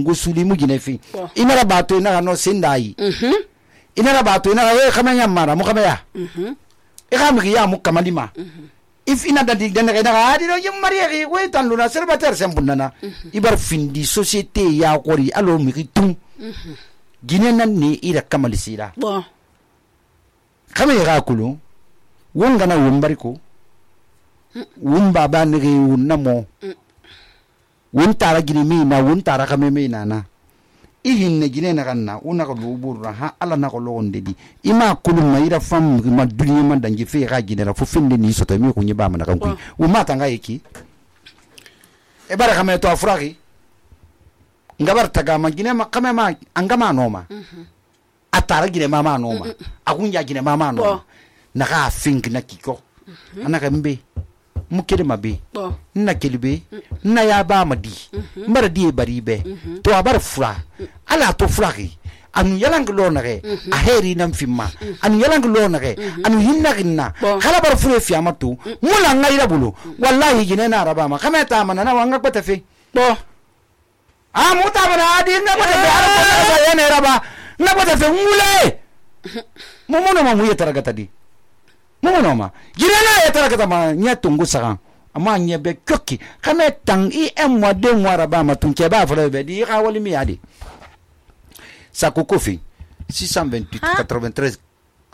ngusuli mu ginefi inara bato ina no sindai inara bato ina khamanya mara mu khamaya ikhamri ya mu kamalima if ina dadi dana adi no yim mariye we tan luna célibataire sembunana ibar findi société ya qori alo mi tum gine nan ne ira kamalisira bon khamay ga kulu wonga na wombari ko wumba ba ne wonnamo won tara gine mi na won tara kame mi na ihin ne gine na kanna una ko luburra ha ala na ko londe di ima kulu mayira fam ma duniya man dangi fe ga gine la fu finde ni soto mi ko nyiba man kan ku o mata nga yeki e bara kame to afragi ngabar taga ma gine ma kame ma angama noma atara gine mama noma agunja gine mama noma na ga fink na kiko anaka mbe mukede mabe na kelibe na ya ba madi mara die bari be to abar fura ala to furaki anu yalang lo nage a heri nam fimma anu yalang lo nage anu hinna ginna kala bar fure fi amatu mula ngaira bulu wallahi gine na araba ma kama ta mana na wanga kwata fe bo muta bana adi na kwata fe ara ya ne raba na kwata fe mule momono ma muye taragata di mono ma girena ya tara kata ma nya tungu sagan ama nya be kokki kame tang I em wa de ngwara ba ma tunke ba fara be di ka wali mi adi sa kokofi 628 93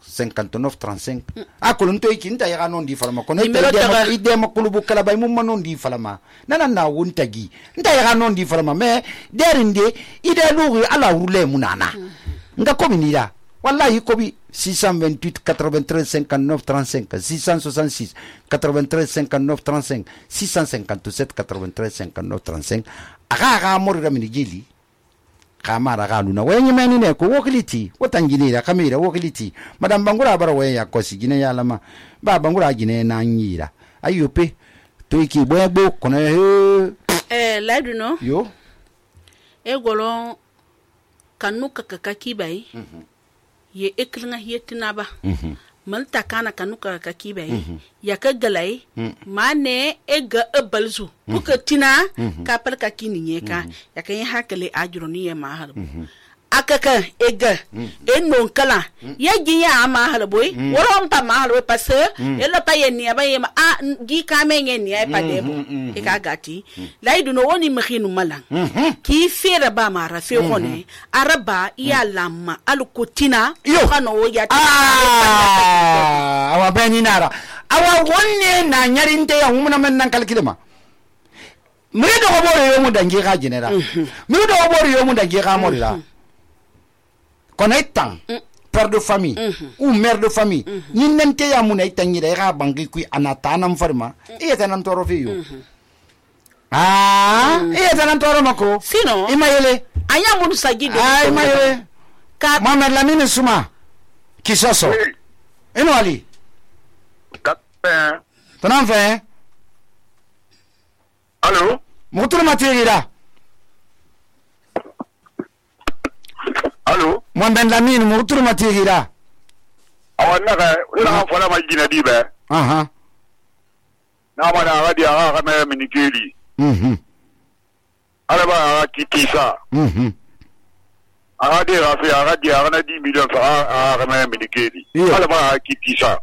59 35 akulun to ikinta ya non di falama kono ide ma kulubu kala bay mum non di falama nana na wuntagi nda ya non di falama me derinde ide lugu ala urule munana nga kominira wallahi kobi 628 93 59 35 666 93 59 35 657 93 59 35 aga morira minigili kamara galuna wenye meni ne ko wokiliti wotanginira kamira wokiliti madam bangura bara weya kosi gine yalama ba bangura gine na nyira ayope to iki boyagbo kono ladu no yo egolo kanuka kakaki bai ye eklinga yetina ba malta kana kanuka kakaki bai ya kagalai mane ega ebalzu kuka tina kapal kakini nyeka ya kan hakale ajroni ya mahal akaka ega ennon kala ya ginya mahal boy woron ta mahal we passe elo ta yeni ba yema a gi kamenye ni ay padebo e ka gati laidu no woni makhinu malang ki fera ba mara fe khone araba ya lamma alukutina kano ya awa beni nara awa wonne na nyarinte ya humna men nan kalkidema mredo ko boro yo mu dangi ga jinera mredo ko boro yo mu dangi ga morira Connaîtant père de famille ou mère de famille ni nente ya muna itanyira ga bangi ku anata nam farma e tanan toro fiyo e tanan toro mako sino imayele aya munu sagido imayele ka Mohamed Lamine Souma kisoso eno ali tanan fe allo mutul matira allo Mohamed Lamine mutul matira awanna ka ina fala ma gina dibe na ma na radio ga me minikeli ala ba kitisa aga de ga fi aga di aga na 10 million fa aga me minikeli ala ba kitisa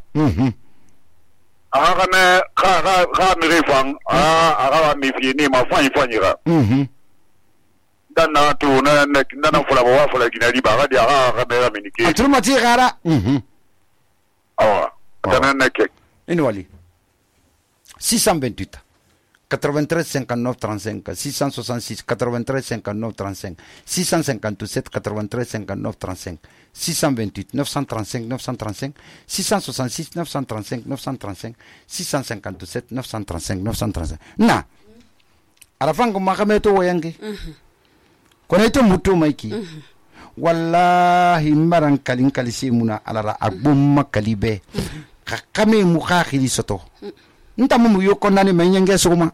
aga me ga mi refang aga mi fi ni ma fa ifanyira dan na tu na fula ba fula gina di ba ga di aga me minikeli atul matira awa kana na ke ino ali 628 93 59 35 666 93 59 35 657 93 59 35 628 935 935 666 935 935 657 935 935 na arafango makameto wayange koneto mutu maiki wallahi maran kalin kalisi muna alara agbumma kalibe kakame mukhakili soto nta mu yoko nani menyenge soma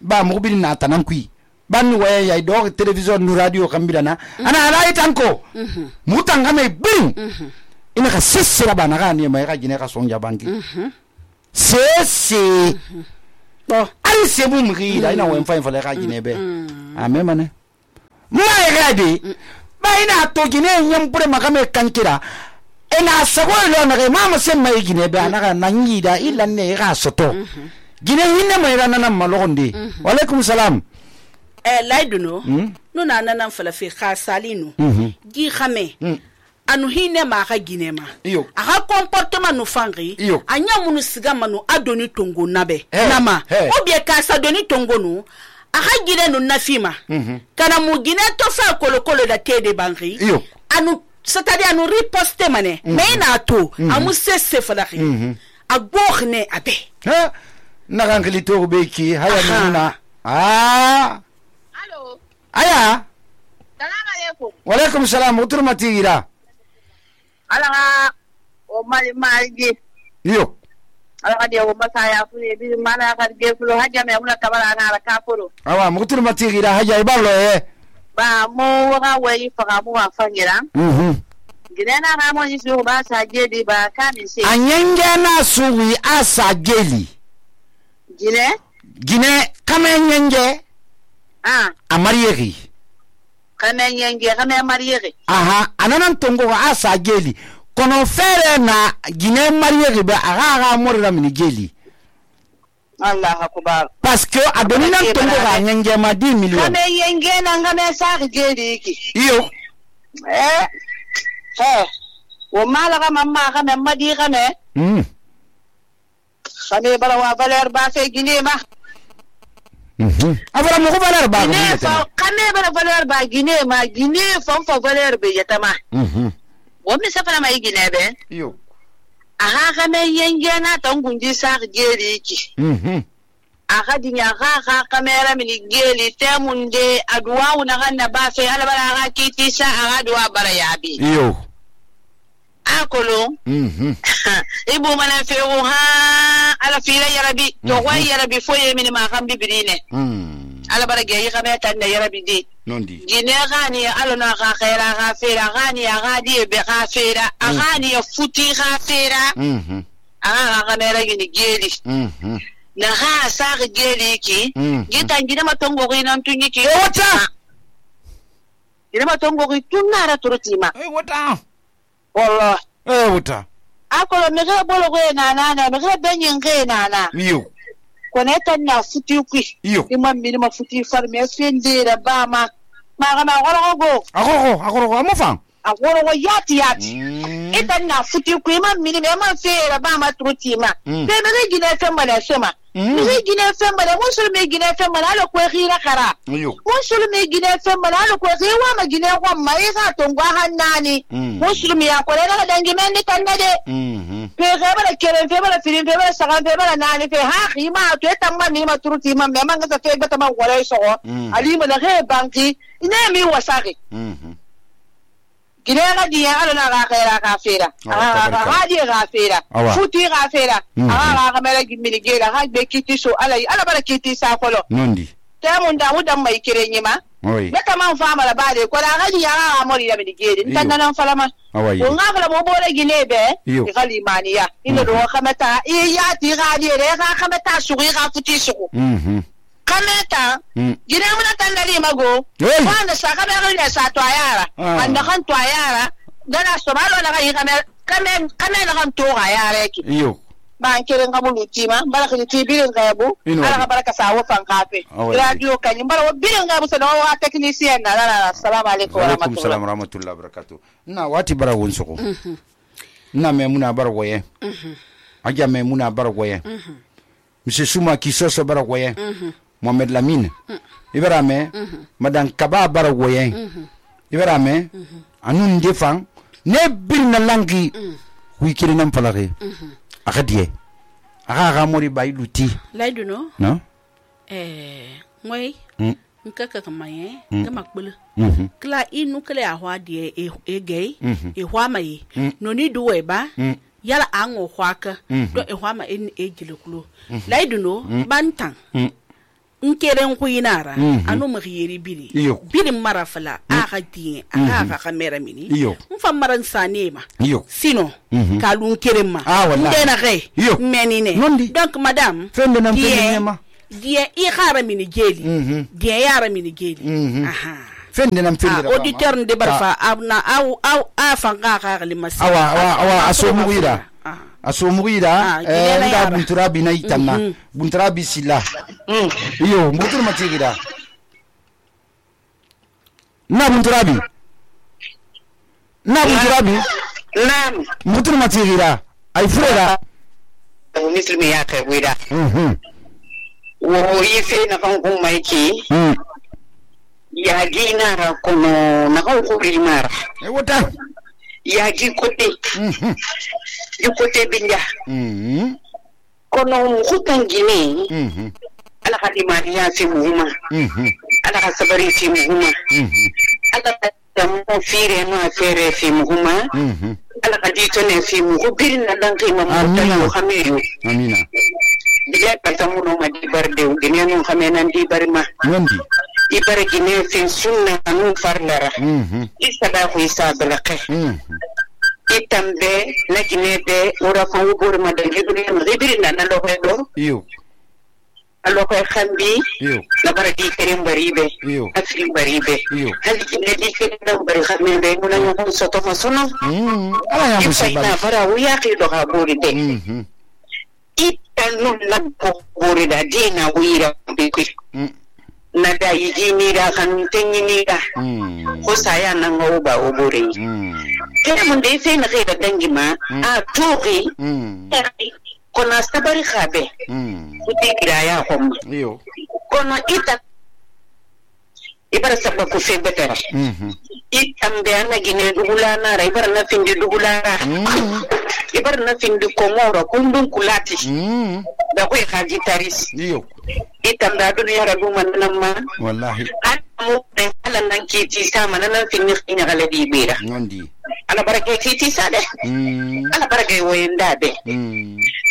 ba mu bin na tanan kui ban waye ya do television nu radio kambirana ana ala itanko mutanga me bin ina ka sesira bana ga ni mai ga gine ka sonja bangi sese bo ali sebu mu ri da ina wen fa fa le ga gine be amemane mai gade baina to gine nyam pure makame kankira ina sago lo na mama sem mai gine ba na nanyi da illa ne ga soto gine hinne mai rana nan malogonde wa alaikum salam laiduno no na nan falafi khasalinu gi khame anu hinne ma ga gine ma aga comportement no fangi anya munu siga manu adoni tongo nabe nama obie ka sa doni tongo no aga gine no nafima kana mu gine to fa kolokolo da tede bangi anu c'est-à-dire anu riposte mane mais na to amu sese falaki agogne abe na gangli to beki haya nuna allo aya salam alaikum wa alaikum salam uturmati gira ala o mali malji yo ala de o masaya fune bi mana ka de fulo haja me muna tabara na la kafuro awa uturmati gira haja ibalo ba mo wa wai fa mu wa fangira gidana na mo yisu ba sa jeli ba kami se anyenge na suwi asa jeli gine kamenyenge amariyegi kamenyenge kame mariyegi aha ananan tongo asa jeli kono fere na gine mariyegi ba aga morira mini jeli Allah akbar parce que adoni nan tongo ga nyenge ma 10 millions kamenyenge na ngame sa jeli ki iyo wo malaga mamma kame madi kame kame bara wa valeur ba fe gine ma avara mo ko valeur ba gine fa kame bara valeur ba gine ma gine fon fa valeur be yatama wo mi sa fana mai gine be yo aha kame yenge na tangunji sa geri ki aha dinya ga kamera mini geli temunde adwa una ganna ba fe ala bara ga kiti sa aga adwa bara yabi yo akolo ibu mana fewo ha ala fira yarabi to wai yarabi foye mini ma kan bibirine ala barage yi kame tan da yarabi di nondi gine gani ala na ga khaira ga fira gani ga di be ga fira gani futi ga fira aga ga mera gini geli na ha sa ga geli ki gitan gina matongo ko nan tunyi ki wata gina matongo ko tunara turutima wata wallah wuta akolo me ga bolo go na me ga benyin ga na yo ko ne tan na futi ku yo imam mi ma futi far me sende da ba ma ga ma go agoro mo fan agoro go yati itan na futi ku imam mi ma fera ba ma truti ma be me ga gine tan ma da sema me ga gine tan ma da musul me gine tan ma da ko khira kara yo musul me gine tan ma da ko khira ma gine ko ma isa to ngwa hannani musul ya ko da dangi men ni tan de pe ga bala keren fe bala firin fe bala sagan fe bala nani fe ha khima to tamma ni ma turuti ma me man ga fe bata ma wala so ali ma da he banki ina mi wasaki gine ga diya ala na ga khaira ka fera ga di ga fera futi ga fera ga mera gimmi gela ha be kiti so ala bara kiti sa kolo nondi tamun da mu dan mai kirenyi ma meta man fama la bade ko da ga diya ga mori da mi gede tan nan falama ko nga fala mo bore gine be e kalimaniya ina do khamata ya ti ga di re ga khamata su ga futi su kameta gine mun tan dali mago wanda saka be ga sa to ayara wanda kan to ayara dana so malo na ga yi kame na kan to ayara ki yo ban kiren ga bulu tima baraka ni tibirin ga yabo ala baraka sa wo fan kafe radio kan bara birin ga musa no wa technician na assalamu alaikum wa rahmatullahi wa barakatuh na wati bara won soko na me muna bara goye aja me muna bara goye monsieur Souma Kisoso bara goye Mohamed Lamine ibrame madan kaba bara goye ibrame anun defan ne bin na langi wikiri nan falake akadie aga mori bailuti laiduno no moy nkaka kamaye kama kpulu kla inu kle ahwa die egei ehwa mai no ni duwe ba yala ango hwaka do ehwa ma en ejilekulo laiduno bantan nkere nkuinara anu mkhiyeri biri marafala aga tie aga kamera mini mfa maran sanema sino kalun kerema ndena re menine donc madame fende nam fende ma die i khara mini geli die yara mini geli aha fende nam fende auditeur nde barfa abna a fanga ka limasi awa aso mugira nda bunturabi na itanna bunturabi sila iyo mbutur matigira na bunturabi naam mbutur matigira ay furera muslimi ya kai guida wo yife na kan kun maiki ya gi nara kono na kan kuri mara wata ya gi kote binja kono hutan gine ala hadimani ya fi muhimma ala sabari fi muhimma ala mo fire no afere fi muhimma ala kadito ne fi muhimma birin na dan kai mamuta yo hamiyo amina diga katamu no madi barde gine no hamena ndi barma wandi ibare gine fin sunna anu farlara isada ko isabalake itambe na gine de ora ko wubur madal hebri na lo do yo alo ko khambi la baraki kerim baribe afri baribe hal gine di kerim bari khamme be mun ñu soto fa sono ala ya musibal na fara wu yaqi do ha bori de itan la ko bori da dina wira be ko na da yi ni da kan tanyi ni da ko saya nan go ba o bore kene mun dai sai na kai da dangi ma a toki ko na sabari khabe ku ti gira ya hom yo ko na ita ibara sabba ku fe betara itam be na gine dugula na ra ibara na finde dugula ra ibara na finde ko moro kundun kulati da ko haji taris yo itam da duniya ra duma nan ma wallahi mu da halan nan ke ti sama nan finni ina galadi bera ngondi ala barake ti sade ala barake woyenda be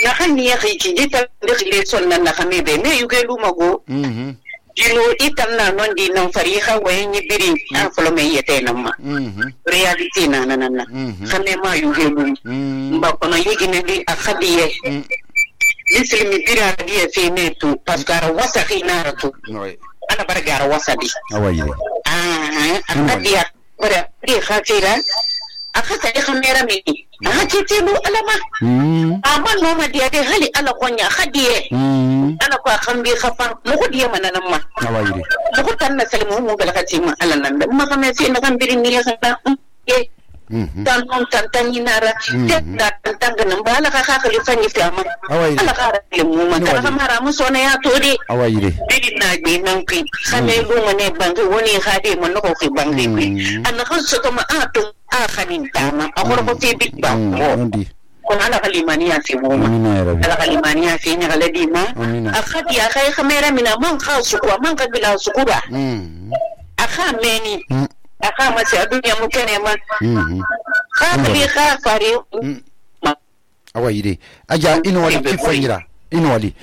na hanni ya ki jita da khile son nan na khame be me yuge lumago dino itam na non di non fariha wayen biri an folo me yete nan ma reality na nan khame ma yuge lum ba kono yigi ne di akhadiye lislimi bira diye fe ne tu paskara wasakhi na tu ana bargara wasadi awayire akadiya bara di khafira akasa di khamera mi akitilu alama amma no ma dia de hali ala konya khadiye ana ko khambi khafan mu khodiye mananan ma awayire mu tan na salmu mu balakati ma ala nan ma khame fi na kambirin ni khata tan on tan nara da tan ganan ba ala ka khalifa ni fama ala ka mu ma ta kamara mu sona ya todi awayire bidin na be nan ki khame lu ne bangi woni khade mun ko ki bangi an kan so to ma ato a khanin tama a ko fi big ba ko ala kalimaniya fi mu ala kalimaniya fi ni galadi ma a khadi ya kai khamera mina man khasu ko man ka bila su kuba a khameni aka mace a duniya muke neman kafiri kafari awayire aja ino wali kifanyira ino wali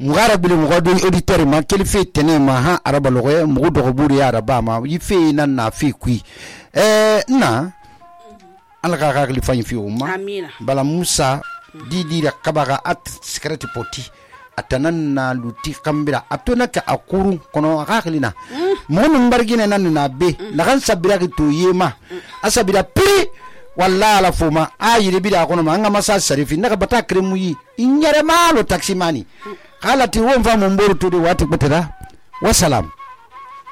mugara bile mugado auditeur ma kelife tene ma ha araba logoye mugo dogo buri ya araba ma yife nan na fi kui na alaka ka kelifanyi fi umma amina bala musa didi da kabaga at secret poti atanan na luti kambira atona ka akuru kono akaklina mon bargine nan na be la kan sabira ki to yema asabira pri walla la fuma ayire bida kono ma ngama sa sarifi naka bata kremu yi inyare malo taximani kala ti won fa mon boru to de wati betera wassalam